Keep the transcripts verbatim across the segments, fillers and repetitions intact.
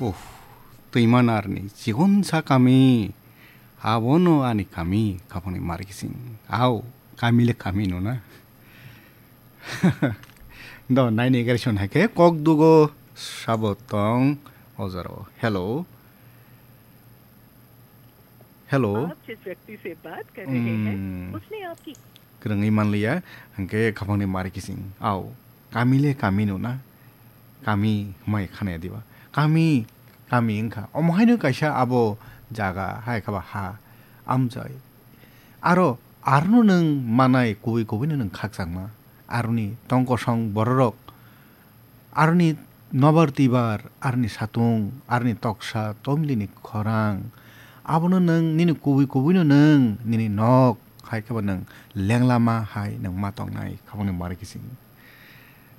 Uff, Twimanarni chikonsa kami, abono ani kami, khapangni mari kising. Au, kami le kami no na. Do, naini gari son hai khe, kok dugo sabo tong, o jora o. Hello. Hello. आप जिस व्यक्ति से बात कर रहे हैं, Hmm. उसने आपकी Kwrwngwi manliya, hwnkhe khapangni mari kising. Au, kami le kami no na? Kami hwnmai khana diba? Kami, kami wngkha. Omo haino kaisa abo jaga, hai khe ba ha, amchai. Aro, arono nwng manai kubui kubui no nwng khakchangma. Aroni tongkosong bororok, aroni nobar twibar, aroni satung, aroni toksa, tomlini khorang. Abono nwng nini kubui kubuino nwng nini nok hai khe bo nwng lenglama hai nwng ma tongnai, khapangni mari kising.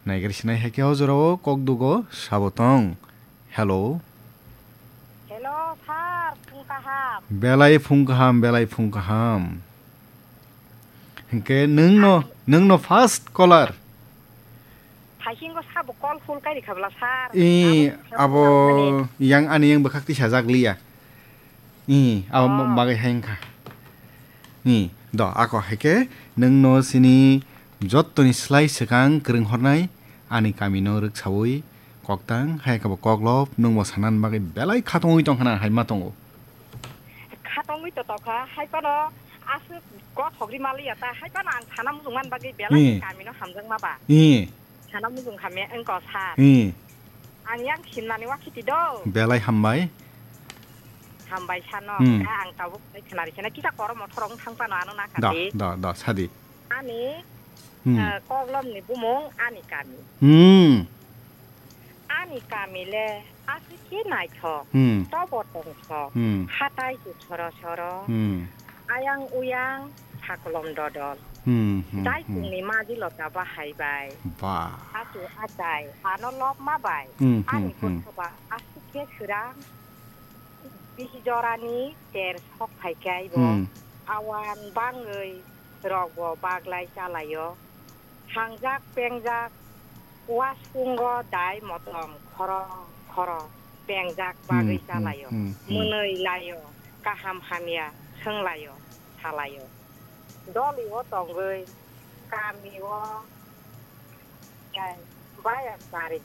Naigari sinai hai khe o jorao kok dugo sabo tong. Hello. Hello, sir, phung kaham. Belai phung kaham, belai phung kaham. Hingke nwng no, nwng no first caller. Haisingo sabo call full kai rikha bwla, sir. I, Abo abo yang ani yang bwkhak tisa jak liya. I, abo Oh. bagwi hai wngkha. I, do, ako hai khe nwng no sini jottoni slai swkang kwrwng hornai ani kami no rwksaui koktang, hai khe bo koklop nwng bo sanani bagwi belai khatungwi tongkha na hai ma tongo. Khatungwi to tongkha, hai phano aswk kothok ri maliya ta, hai phano ang sana muchung man bagwi belai Hmm. kami no hamjakma ba. Hmm. Sana muchung kha me wngko sir. Hmm. Ang yang simnani wakhiti do. Belai hambai. Hambai sano, Hmm. kha ang tabuk bai khnari khena kisa kormo thorong thang phano ano na Da, khati. da, da, sadi. Ani, Hmm. eh, koklomni bumung ani kami. Hmm. Ani kami le aswk khe naithok, Hmm. tobo tongthok, Hmm. hatai kuthoro soro, Hmm. ayang uyang sakolom dodol. Hmm, hmm, hmm. Daitungni majilota bahai bai. Ba. Achu achai, ano lobma bai. Hmm, hmm, Ani hmm. Gothoba aswk khe swrang. Bisi jorani ter sok phai khe aibo. Hmm. Awan bangwi rokbo baglai chalaio. Hangjak pengjak waskungo dai motom khoro khoro pengjak Hmm, bagwi hmm, chalaio. Hmm, hmm. Mwnwi laio, kaham hamya swnglaio, salaio. Doliwo tongwi kamio tei bayas bari